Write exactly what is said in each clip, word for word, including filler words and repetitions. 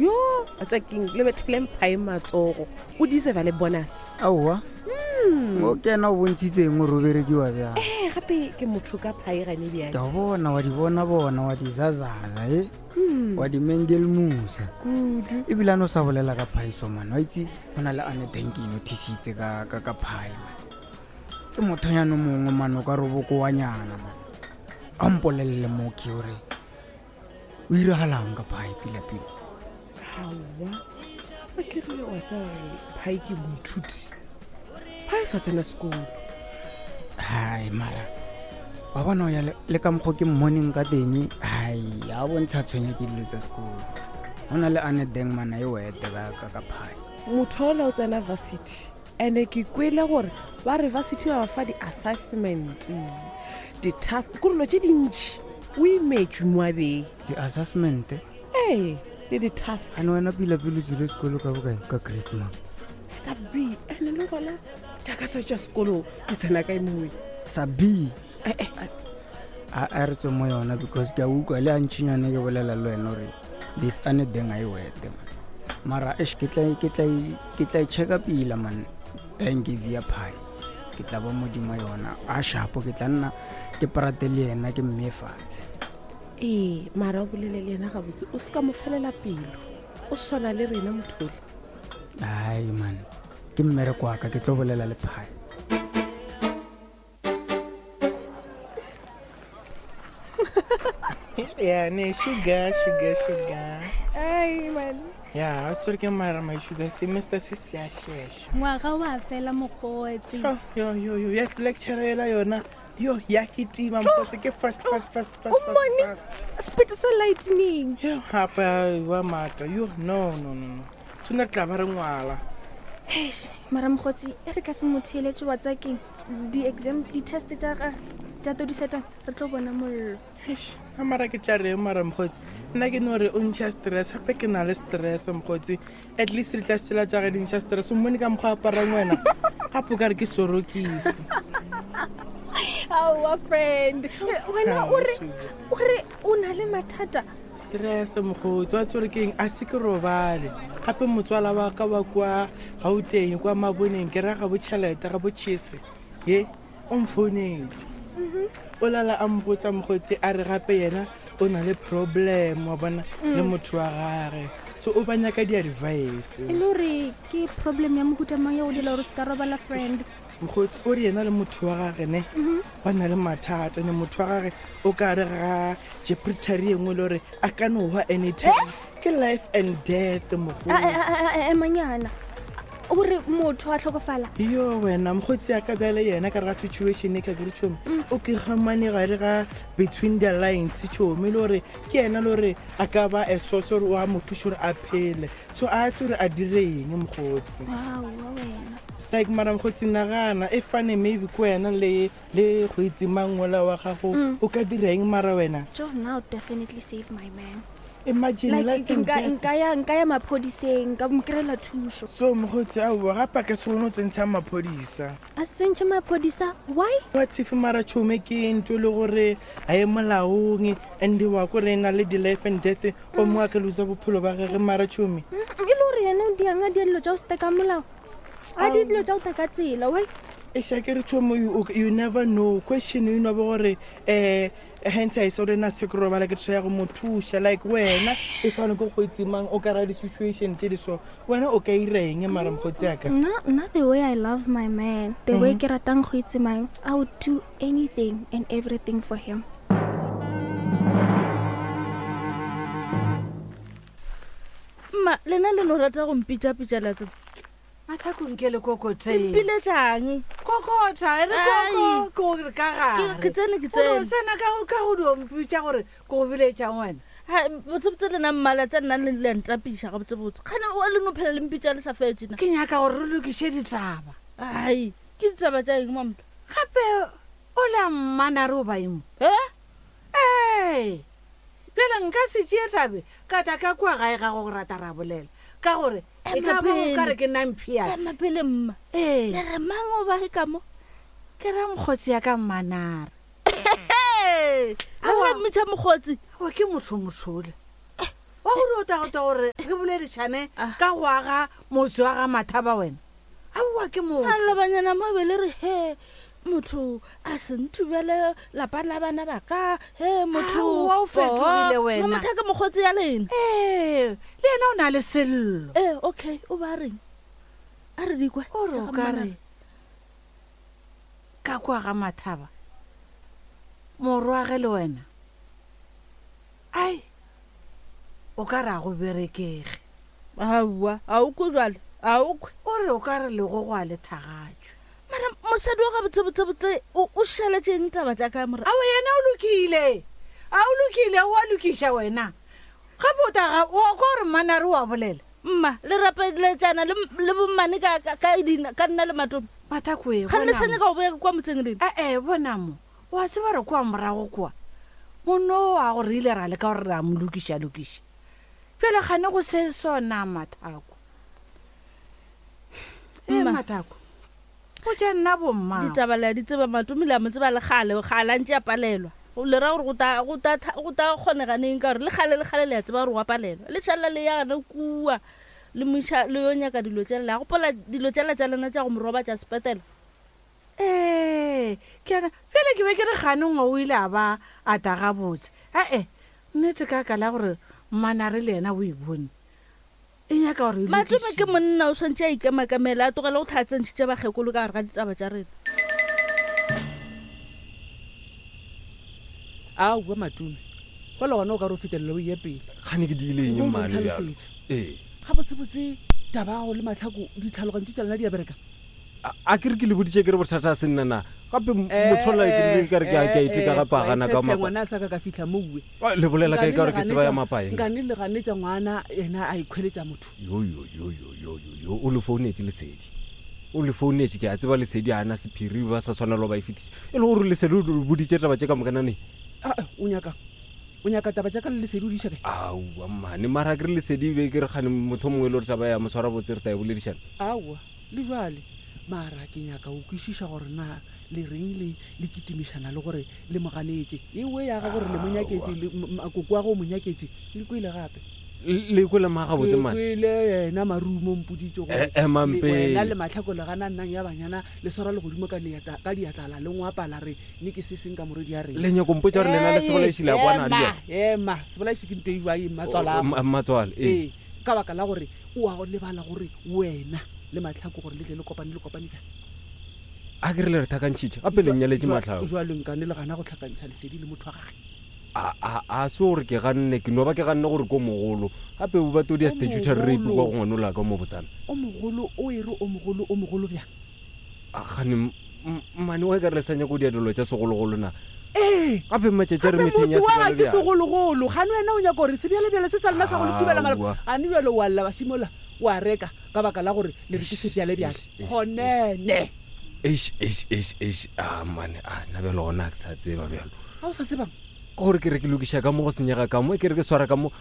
Yo, a tsakeng le bethile mphae matsogo. O deserve le bonus. Aowa. O kena o bontshitseng gore o berekiwa bjang. Eh, gape ke motho ka phae gane bjang. Ke a bona wa di bona bona wa di zazaza e. Wa di mengelmusa. Kudu. Ebile a no sa bolela ka phaiso man. Wa itse go na le ane teng ke noticitse ka ka ka phai man. Ke mothonyana o mongwe man o ka re bokoanyana man. A mpolelele mo ke hore o iragalang ka phai pila pila. Hawa. A ke re wa tseba gore phai ke moithuti. Phai sa tsena sekolo. Hai mara. Wa bona o ya le, le ka mokgwa ke mmoneng ka teng, hai, a bontsha tshwenya ke dilo tsa sekolo. Ho na le ane deng mana e wete ka, ka, ka phai. Motho ola o tsena varsity. Ene ke kwele gore ba re varsity ba ba fa di-assessment, di-task, ko dilo tše dintši. O imetšwe mo a beng. Di-assessment? Ee, le di-task. Ane wena pila pele o tswile sekolo ka bokae? Ka grade mang? Sa B, ene le gona jaaka sa tša sekolo ke tsena kae mongwe? Sa B? Eh, eh. A, a re tswe mo yona because ke a utlwa le a ntšhinyane ke bolela le wena gore this ane deng a e wete man. Mara eish, ke tla, ke tla, ke tla e checka pila man. Thank you via pie. Ke tla ba modimo yona. A shapo ke tla nna ke prate le yena ke mme fatshe. Ee, mara o bolele le yena gabotse, o se ka mo felela pelo. O swana le rena mothole. Ai man, ke mmereko wa ka, ke tlo bolela le pie. Yeah, ne, sugar, sugar, sugar. Ai, man. Yeah, o tsere ke mara my sugar, semester se se a shesha. Ngwaga wa fela mokgotsi. Yo, yo, yo, yo, ya lecture ela yona. Yo, ya ke tima mokgotsi, ke fast, fast, fast, fast, O fast, mmone? fast. Speed sa lightning. Yo, gape wa mata. Yo, no, no, no, no. Sooner re tla ba re ngwala. Eish, mara mokgotsi, e re ka se mo theeletše wa tsa keng? Di-exam, di-test tša gage, tša tlo di setang, re tlo bona mollo. Eish, a mara ke tla reng mara mokgotsi? Nna ke no re o ntšha stress, gape ke na le stress mokgotsi. At least re tla se tšela tša gage di ntšha stress. O mmone ka mokgwa a aparang wena. Gape o ka re ke sorokisi. Aowa, friend. Wena o re, Sugar. o re o na le mathata. Stress mokgotsi, wa tsore ke eng? A se ke robale. Gape motswala wa ka wa kwa Gauteng, kwa Maboneng, ke ra ga bo tšhelete, ga bo chese. Ye, o mfounetse. O lala a mpotsa mokgotsi, a re gape yena o na le problem, wa bona, le motho wa gage. So o ba nyaka di-advice. E le gore ke problem ya mohuta mang ya go dira gore se ka robala, friend? Mokgotsi o re yena le motho wa gage ne, ba na le mathata, ne motho wa gage o ka re ga jeopardy e nngwe le gore a ka no hwa anytime. Ke life and death, mokgotsi. A, a, a, a, emanyana. O re motho a tlhokofala? Yo wena mokgotsi ya ka bjale yena ka re ga situation e ka ke re tšhomi, o ke gamane gare ga between the lines tšhomi, le gore ke yena le gore a ka ba a source gore o a mo thuša gore a phele. So a tse gore a dire eng mokgotsi. Wow, wa wena. Like mara mokgotsi nagana e fane maybe ko wena le, le go itse mang mola wa gago, o ka dira eng mara wena? Jo, now definitely save my man. Imagine Like, life and nka, death. nka ya, nka ya maphodiseng, nka mo kry-ela thušo. So mokgotsi aowa, gape a ka se kgone go tsentsha maphodisa. A sentšhe maphodisa? Why? What if mara tšhome ke ntho e le gore ga e molaong, and wa ko re na le di-life and death, o mongwe a ka losa bophelo ba gage mara tšhome. Mm, e le gore yena o diang a dia dilo tša go se ka molao? A di dilo tša go ta ka tsela, why? Eish, a ke re tšhomo, you, you never know. Question e no ba gore, eh, hence I saw rena se ke robala ke try go mo thuša. Like wena, if a ne ke go itse mang, o ka ra di-situation tše di so, wena o ka ira eng mara mokgotsi ya ka? Nna, nna the way I love my man, the way ke ratang go itse mang, I would do anything and everything for him. Mma, lena le no rata go mpitšapitša la tseba. Matlhakong ke le kokoteng. Mpiletšang? Kokota, e re Ai. koko, ke gore ka gare. Ke- ke tsene, ke O re o tsene. tsena ka go, ka go dio mpitša gore ke go biletšang wena. Hai, botsebotse lena mmala tša nna le le a ntapiša gabotsebotse. Kgane o le no phela le mpitša le sa fetše na? Ke nyaka gore re lokiše ditaba. Ai, ke ditaba tša eng, Mamotla? Gape o le a mmana re o ba eng? Eh? Ee. Bjale nka se tšee tabe ka tla ka kua gae ga go rata ra bolela. Ka gore e ka ba o ka re ke nna mphiana. Ema pele, mma. Ee. Le re mang o ba ka mo? Ke ra mokgotsi ya ka mmanare. Hey! Le Aowa. ra mmitša mokgotsi? Aowa, ke motho mothole. Wa gore o ta gota gore re boledišane ka go aga motse wa ga Mathaba wena. Aowa ke motho. A lobanyana mo be le re he motho a se nthubele lapa la bana ba ka he motho. Aowa, o fetogile wena. Motho ke mokgotsi ya lena. Ee, le yena o na le sello. Ee, okay, o ba reng? A re dikwe. O re o ka re ka kwa ga Mathaba morwage le wena ai o ka re a go berekege. Aowa, a o kwe jwale, a o kwe. O re o ka re legogo a le thagatšwe. Mara mosadi wa gabotsebotsebotse o o šaletšeng taba tša ka mora? Ao yena o lokile, a o lokile, o a lokiša wena. Gape o taga o kwa gore mmanare o a bolela. Mma, le rapeletšana le le bommane ka ka ka dina ka nna le Matome. Mathakoe, Ga nne bona sa mo. nyaka go boya kwa motseng lena. Ee, bona mo. Wa tseba re kwa morago kwa. Monno wa gore ile ra leka gore re a mo lokiša lokiša. Bjale gane go se sona Mathako. Ee, Mma. Mathako. O tša nna bomma. Ditaba le a di tseba Matome le a mo tseba le kgale, kgale a ntše a palelwa. Le ra gore go ta go ta go ta kgonega neng ka gore le kgale le kgale le a tseba gore wa palelwa. Le šalla le ya gana kua le moša le yo nyaka dilo tšela. La gopola dilo tšela tša lena tša go mo robatša sepetela. Ee, ke ana bjale ke be ke re gane ngwe o ile a ba a ta gabotse. Ee, nnete ka ka la gore mmanare le yena o e bone. E nyaka gore e Matome lokišiwe. ke monna o swantše a ikemakamela a tlogele go tlhatsentšhitše bakgekolo ka gare ga ditaba tša rena. Aowa Matome, fela gona o ka re o fetelela o ye pele. Gane ke diile eng Nko o mmane bjalo? ntlhalosetša. Ee. Gabotsebotse taba ya gago le Matlhako ditlhaloganyo tša lena di a bereka? A a ke re ke le boditše ke re bothata a se nna na. Gape motho la ke rile ka re ke a ke a iteka gape a gana ka mapa. Ngwana a sa ka ka fihla mo uwe. Ah, le bolela kae ka gore ke tseba ya mapaeng? Nkane le ganetša ngwana yena a ikhweletša motho. Yo yo yo yo yo yo yo o le founetše Lesedi. O le founetše ke a tseba Lesedi a na sephiri ba sa tshwanelo ba e fetiša. E le gore Lesedi o le boditše taba tše ka moka nane. Ah, o nyaka o nyaka taba tša ka le Lesedi o di iša kae? Aowa mmane, mara ke re Lesedi be ke re gane motho o mongwe e le gore taba ya mo swara botse re ta e boledišana. Aowa, le jwale mara ke nyaka go kwešiša gore na le reng le le kitimišana le gore le mo ganetše. Ewe ya ga gore le mo nyaketše, le m-, makoko wa go mo nyaketše, le kwele gape. Le, le kwele ma gabotse Ke mane? kwele yena Marumo mpoditše gore Eh, emang le- pele. wena le Matlhako le gana nnang ya banyana le swara legodimo ka diatla, ka diatlala le ngwapala re ne ke se seng ka morwedi ya rena. Le nyako mpotša gore lena le sebolaiši le a kwana le Ema, yena? ema, sebolaiši ke nto e jwang, mmatswala? O, ma-, mmatswale, ee. Ee, ka baka la gore o a go lebala gore wena le Matlhako gore le tle le kopane, le kopane bjang? A ke re le re thakantšhitše, gape le nnyaletše Jwa- Matlhako. Jwale nkane le gana go tlhakantšha Lesedi le motho wa gage. A, a, a se gore ke ganne, ke no ba ke ganne gore ko mogolo. Gape o ba todi ya O statutory rape mogolo. kwa go ngwanola ka mo botsana. O mogolo, o e re o mogolo, o mogolo bjang? A gane m-, m-, mmane wa e ka re le sa nyaka go dia dilo tša segologolo na? Ee. Gape matšatši a re Gape metheng ya motho wa ga ke sebjalebjale. segologolo. Gane wena o nyaka gore sebjalebjale se sa lena sa go le thubela maloba. Aowa. Gane bjale wa lla bašimola, wa reka ka baka la gore le re ke sebjalebjale. Eish, eish, Gonene. Eish, eish, eish, eish. Ah, mmane, ah, nna bjalo gona ke sa tseba bjalo. Ga o sa tsebang? Ke gore ke re ke lokiša ka mo go senyega ka mo, ke re ke swara ka mo.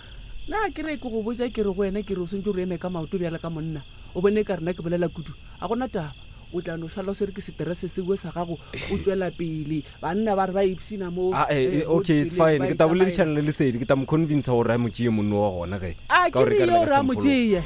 Nna ke re ke go botša ke re go wena ke re o swantse o re eme ka maoto bjale ka monna. O bone ka rena ke bolela kudu. A gona taba. O tla no šala o swere ke seterese seo sa gago, o tšwela pele. Banna ba re ba ipshina mo, Ah, eh, eh, eh, mo okay, it's ditseleng, fine. ba Ke tla itamaela. boledišana le Lesedi, ke tla mo convince gore a mo tšee monno wa gona ge. A, Ka ke gore re ka re yo le ka re a mo se mphologe. tšee.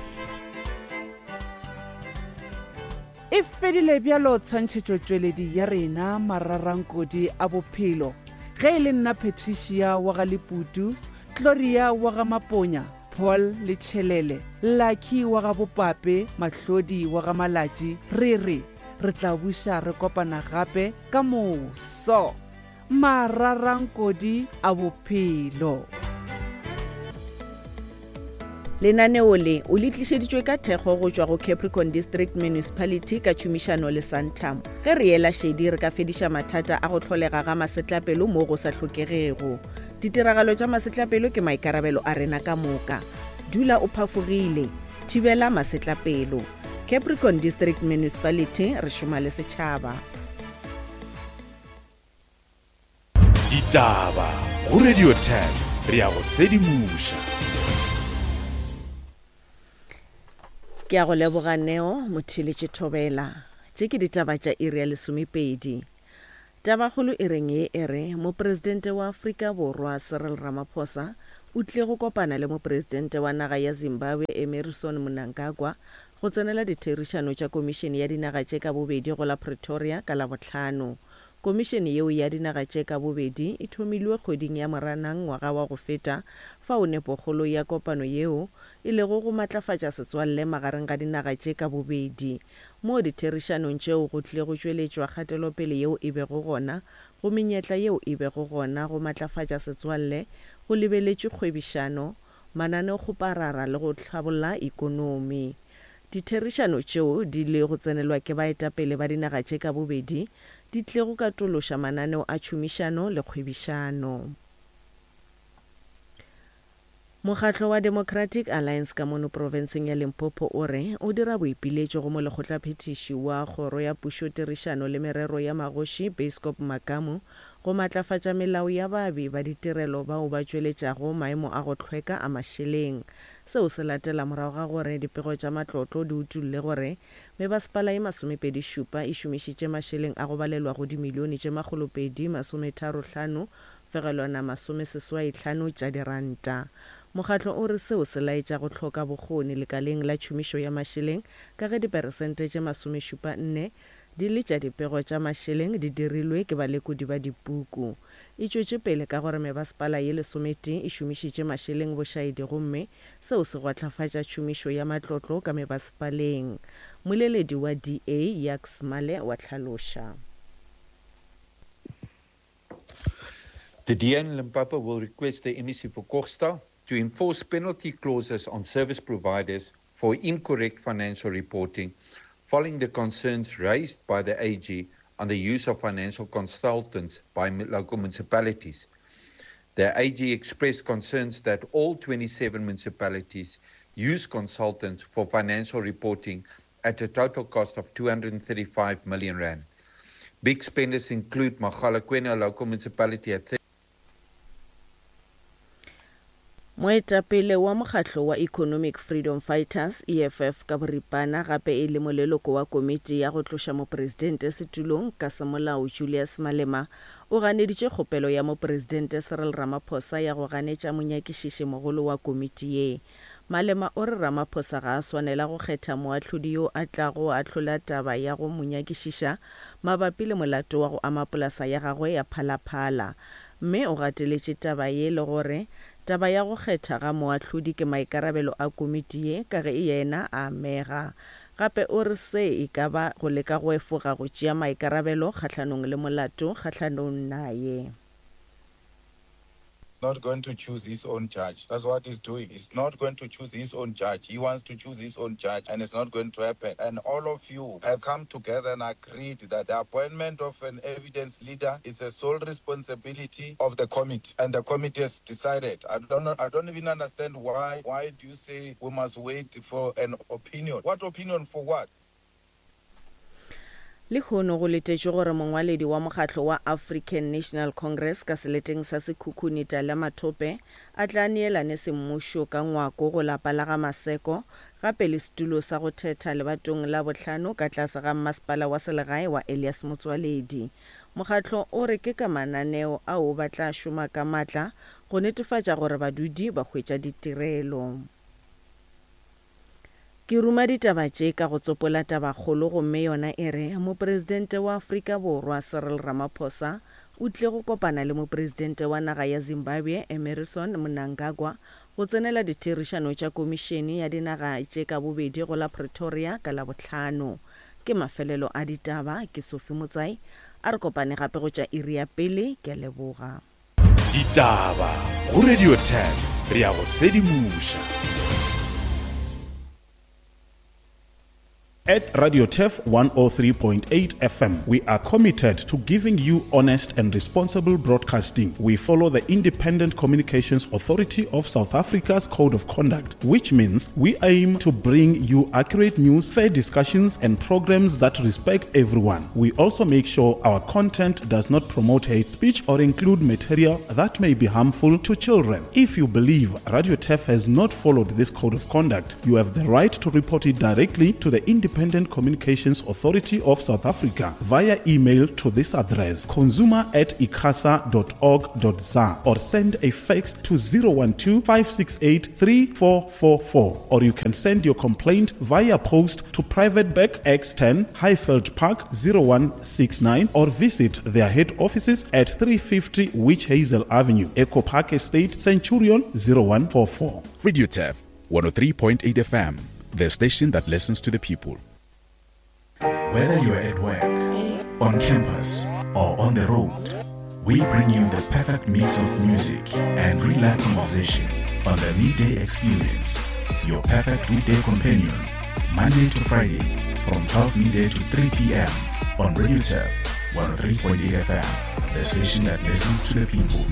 E fedile bjalo tshwantšhetšotšweledi ya rena mararankodi a bophelo. Ge e le nna Patricia wa ga Leputu, Gloria wa ga Maponya, Paul le Tšhelele, Lucky wa ga Bopape, Mahlodi wa ga Malatši, re re re tla buša re kopana gape ka moso. Mararankodi a bophelo. Lenaneo le o le tlišeditšwe ka thekgo go tšwa go Capricorn District Municipality ka tšhomišano le Santam. Ge re ela šedi re ka fediša mathata a go hlolega ga masetlapelo mo go sa hlokegego. Ditiragalo tša masetlapelo ke maikarabelo a rena ka moka. Dula o phafogile, thibela masetlapelo. Capricorn District Municipality, re šoma le setšhaba. Ditaba go Radio ten re ya go sedimoša. Ke a go leboga Neo Motheeletše Thobela. Tše ke ditaba tša iri ya lesomepedi. Tabakgolo e reng ye e re mopresidente wa Afrika Borwa Cyril Ramaphosa o tlile go kopana le Mopresidente wa naga ya Zimbabwe Emmerson Mnangagwa go tsenela ditherišano tša Komišene ya Dinaga tše ka Bobedi go la Pretoria ka Labohlano. Komišene yeo ya dinaga tše ka bobedi e thomilwe kgweding ya Moranang ngwaga wa go feta fao nepokgolo ya kopano yeo e lego go matlafatša setswalle magareng ga dinaga tše ka bobedi. Mo ditherišanong tšeo go tlile go tšweletšwa kgatelopele yeo e bego gona go menyetla yeo e bego gona go matlafatša setswalle go lebeletšwe kgwebišano, mananeokgoparara le go hlabolla ikonomi. Ditherišano tšeo di le go tsenelwa ke baetapele ba dinaga tše ka bobedi di tlile go katološa mananeo a tšhomišano le kgwebišano. Mokgatlo wa Democratic Alliance ka mono profenseng ya Limpopo o re o dira boipiletšo go molekgotlaphethiši wa Kgoro ya Pušotirišano le Merero ya Magoši Beiskop Makamu go matlafatša melao ya baabi ba ditirelo bao ba tšweletšago maemo a go hlweka a mašeleng. Seo se latela morago ga gore dipego tša matlotlo di utolle gore mebasepala ye masomepedi šupa e šomišitše mašeleng a go balelwago dimilione tše makgolopedi masometharo-hlano fegelwana masomeseswai hlano tša diranta. Mokgatlo o re seo se laetša go hloka bokgoni lekaleng la tšhomišo ya mašeleng ka ge diperesente tše masomešupa nne di le tša dipego tša mašeleng di dirilwe ke balekodi ba dipuku. E tšwetše pele ka gore mebasepala ye lesometee e šomišitše mašeleng bošaedi gomme seo se gwahlafatša tšhomišo ya matlotlo ka mebasepaleng. Moleledi wa D A, Jacques Male wa hlaloša. The D A in Limpopo will request the M E C for Kokstad to enforce penalty clauses on service providers for incorrect financial reporting following the concerns raised by the A G on the use of financial consultants by local municipalities. The A G expressed concerns that all twenty-seven municipalities use consultants for financial reporting at a total cost of two hundred thirty-five million rand. Big spenders include Mogalakwena local municipality at Moetapele wa mokgatlo wa Economic Freedom Fighters E F F ka boripana gape e le moleloko wa komiti ya go tloša mopresidente setulong ka semolao Julius Malema o ganeditše kgopelo ya mopresidente Cyril Ramaphosa ya go ganetša monyakišiši mogolo wa komiti ye. Malema o re Ramaphosa ga a swanela go kgetha moahlodi yo a tlago ahlola taba ya go monyakišiša mabapi le molato wa go ama polasa ya gagwe ya Phalaphala. Mme o gateletše taba ye le gore taba ya go kgetha ga moahlodi ke maikarabelo a komiti ye ka ge yena a amega. Gape o re se e ka ba go leka go efoga go tšea maikarabelo kgahlanong le molato kgahlanong naye. Not going to choose his own judge. That's what he's doing. He's not going to choose his own judge. He wants to choose his own judge, and it's not going to happen. And all of you have come together and agreed that the appointment of an evidence leader is a sole responsibility of the committee, and the committee has decided. I don't know, I don't even understand why. Why do you say we must wait for an opinion? What opinion for what? Lehono go letetšwe gore mongwaledi wa mokgatlo wa African National Congress ka seleteng sa Sekhukhune Tala Mathope a tla neelane semmušo ka ngwako go lapa la ga Maseko gape le setulo sa go thetha lebatong la bohlano ka tlase ga mmasepala wa selegae wa Elias Motsoaledi. Mokgatlo o re ke ka mananeo ao ba tla šoma ka matla go netefatša gore badudi ba hwetša ditirelo. Ke ruma ditaba tše ka go tsopola tabakgolo gomme yona e re mopresidente wa Afrika Borwa Cyril Ramaphosa o tlile go kopana le mopresidente wa naga ya Zimbabwe Emmerson Mnangagwa go tsenela ditherišano tša komišene ya dinaga tše ka bobedi go la Pretoria ka Labohlano. Ke mafelelo a ditaba, ke Sophie Motsai, a re kopane gape go tša iri ya pele, ke a leboga. Ditaba go Radio ten, re ya go sedimoša. At Radio Turf one oh three point eight F M, we are committed to giving you honest and responsible broadcasting. We follow the Independent Communications Authority of South Africa's Code of Conduct, which means we aim to bring you accurate news, fair discussions, and programs that respect everyone. We also make sure our content does not promote hate speech or include material that may be harmful to children. If you believe Radio Turf has not followed this code of conduct, you have the right to report it directly to the Independent Independent Communications Authority of South Africa via email to this address consumer at icasa dot org dot za or send a fax to zero one two, five six eight, three four four four, or you can send your complaint via post to Private Bag X ten Highveld Park zero one six nine or visit their head offices at three fifty Witch Hazel Avenue, Echo Park Estate, Centurion zero one four four. Radio Turf one oh three point eight F M, the station that listens to the people. Whether you're at work, on campus, or on the road, we bring you the perfect mix of music and real-life conversation on the Midday Experience, your perfect weekday companion, Monday to Friday from twelve midday to three P M on Radio Turf one oh three point eight F M, the station that listens to the people.